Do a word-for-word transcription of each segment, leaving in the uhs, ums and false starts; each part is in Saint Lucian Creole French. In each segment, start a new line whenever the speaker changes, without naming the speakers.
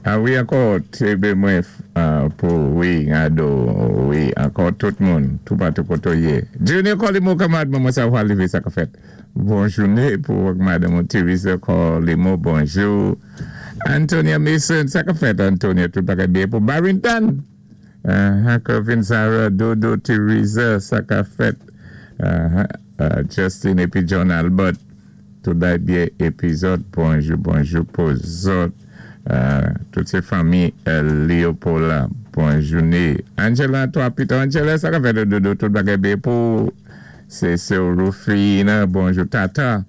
A wi, ankò, té mwen pou wi, ado, wi, ankò tout moun, tout patou koto yé. Junior Colimo, kanmad, mwen sa wà lévé sa ka fèt. Bon jouné pou madanm Teresa Colimo, bonjou. Antonia Mason, sa ka fèt, Antonia, tout bagay byen pou Barrington. Uh, Kevin Zara, Dodo, Teresa, sa ka fèt. Uh, uh, Justin épi John Albert, tout bagay byen épi zòt, bonjou, bonjou pou zòt. Uh, tout sé fanmi uh, Léopold, bon jouné. Angela, toi, Peter, Angela, sa ka fèt, Dodo, tout bagay byen pou sé sé Rufina, bonjou, Tata.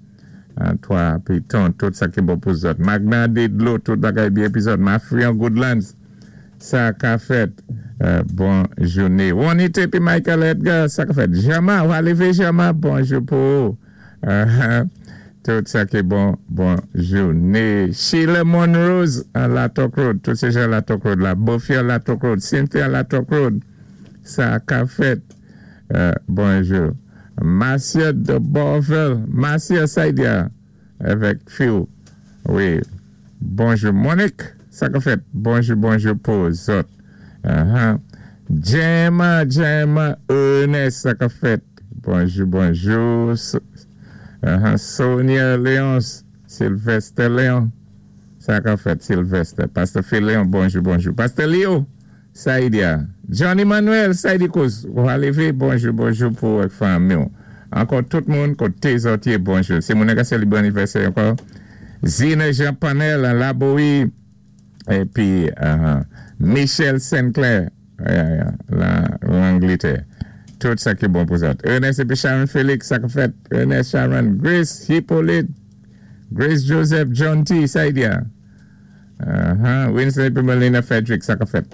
Uh, toi, Piton, tout sa ki bon pou zòt. Magna Didlo, tout bagay byen épi zòt. Mafrian Goodlands, sa ka fèt. Uh, bon jouné. Juanita épi Michael Edgar, sa ka fèt. Jama, ou lévé Jama, bonjou pou. Uh, tout sa ki bon, bon jouné. Sheila Monrose, à La Toc Road, tout sé jan La Toc Road la. Bofia La Toc Road, Cynthia La Toc Road, sa ka fèt. Uh, bonjou. Marcia de Borvel, Marcia Saidia, avèk Phil. Wi. Bonjou. Monique, sa ka fèt. Bonjou, bonjou pou zòt. Uh-huh. Gemma, Gemma, Ernest, sa ka fèt. Bonjou, bonjou. Uh-huh. Sonia Léonce, Sylvester Léon. Sa ka fèt, Sylvester. Pasteur Phil Léon, bonjou, bonjou. Pasteur Leo, Saïdia. Johnny Manuel, Saïdi Kous. Ou lévé, bonjou, bonjou pou fanmi. Ankò tout moun, koté zòt yé, bonjou. Sé moun ka sélébwé anivèsè ankò. Zina Jean Panel, Laboui. Épi uh, Michel Sinclair, yeah, yeah, la, Langletè. Tout sa ki bon pou zòt. Ernest épi Sharon Félix, sa ka fèt. Ernest Sharon, Grace Hippolyte, Grace Joseph, John T. Saidia. Uh-huh. Winston épi Melina Frederick, sa ka fèt.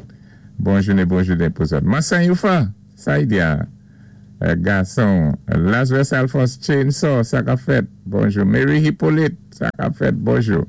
Bon jouné, bon jouné pou zòt. Massan Youfa, Saidia. Euh, gason. Lazarus Alphonse Chainsaw, sa ka fèt. Bonjou. Mary Hippolyte, sa ka fèt. Bonjou.